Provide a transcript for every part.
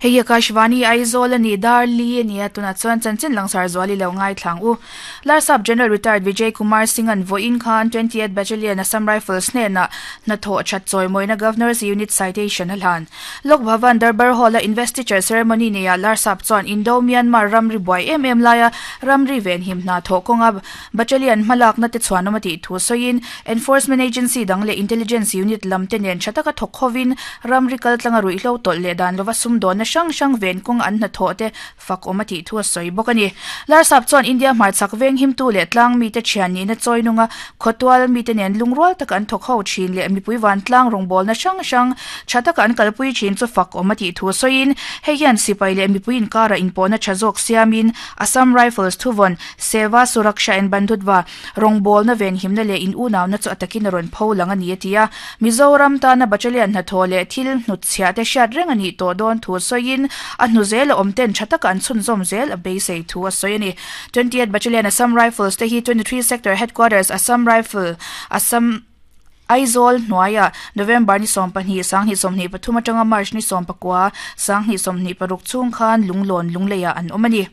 Hei hi Akashvani Aizawl a ni, dar li a ni a, tunah chuan chanchin langsar zual i lo ngaithlang u. Larsap General Retired Vijay Kumar Singh-a'n vawiin khan 20th Battalion Assam Rifles hnenah hnathawh that chawimawina Governor's Unit Citation a hlan. Lok Bhavan Darbar Hall-a Investiture Ceremony neiah Larsap chuan Indo-Myanmar ramri buai em em laia ramri venhim hna thawh kawnga Battalion hmalakna te chhuanawm a tih thu sawiin Enforcement Agency dang leh Intelligence Unit lam te nen tha taka thawk hovin ramri kaltlanga ruihhlo tawlh leh dan lova sumdawnna hrang hrang ven kawng an hnathawh te fak awm a tih thu a sawi bawk a ni. Larsap chuan India hmarchhak veng himtu leh tlang mite thian nihna chawi nunga khawtual mite nen lungrual taka an thawk ho thin leh mipui vantlang rawngbawlna hrang hrang tha taka an kalpui thin chu fak awm a tih thu sawiin hei hian sipai leh mipui inkarah inpawhna tha zawk siamin Assam Rifles thuvawn Seva, Suraksha and Bandhutva, rawngbawlna venhimna leh in unauna chu a takin a rawn pho lang a ni a ti a. Mizoram tana Battalion hnathawh leh thil hnutchhiah te hriat reng a nih tawh dawn thu sawiin a hnu zel a awm ten tha taka an chhunzawm zel a beisei thu a sawi a ni. 20th Battalion Assam Rifles te hi 23 Sector Headquarters Assam Rifle, Assam, Aizawl hnuaiah November ni 12, 2023 atanga March ni 19, 2026 chhung khan Lunglawn Lungleiah an awm a ni.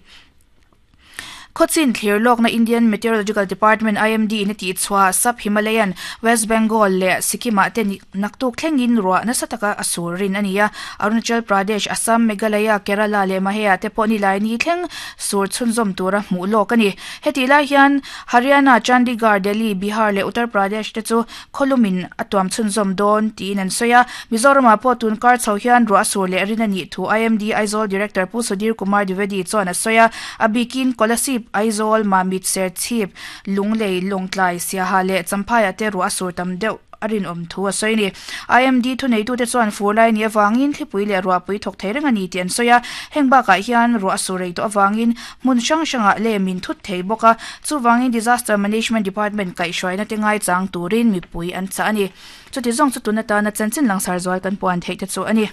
Khawchin thlir lawkna Indian Meteorological Department, IMD, in a tih chhuah Sub-Himalayan, West Bengal leh Sikkim-ah te naktuk thlengin ruah nasa taka a sur rin a ni a. Arunachal Pradesh, Assam, Meghalaya, Kerala leh Mahea te pawh nilai ni thleng sur chhunzawm tura hmuh lawk a ni. Hetih lai hian Haryana, Chandigarh, Delhi, Bihar leh Uttar Pradesh te chu Khawlumin a tuam chhunzawm dawn tiin an sawi a, Mizoramah pawh tun kar chho hian ruah a sur leh rin a nih thu IMD Aizawl Director Pu Sudhir Kumar Dwivedi chuan a sawi a, a bikin Kolasib, Aizawl, Mamit, Serchhip, Lunglei, Lawngtlai, Siaha leh Champhaiah te ruah a sur tam deuh a rinawm thu a sawi a ni. IMD thuneitute chuan fur lai a nih avangin thlipui leh ruahpui thawk thei reng a ni tih an sawi a, heng bakah hian ruah a sur rei tawh avangin Hmun hrang hrangah lem in thut thei bawk a, chuvangin Disaster Management Department kaihhruaina te ngaichang turin mipui an chah a ni. Chuti zawng chu tun atana chanchin langsar zual kan puan theih te chu a ni.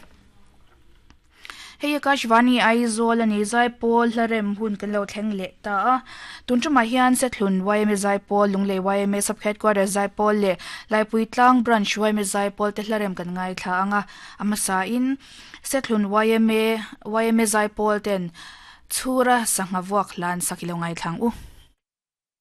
Hei Akashvani Aizawl a ni, Zaipawl hlarem hun kan lo thleng leh ta a. Tun tumah hian Sethlun yma Zaipawl, Lunglei yma Sub Headquarters Zaipawl leh Laipui Tlang Branch yma Zaipawl te hlarem kan ngaithla ang a. A hmasain Sethlun yma yma Zaipawl ten Chhura sangha vuak hlan sak i lo ngaithlang u.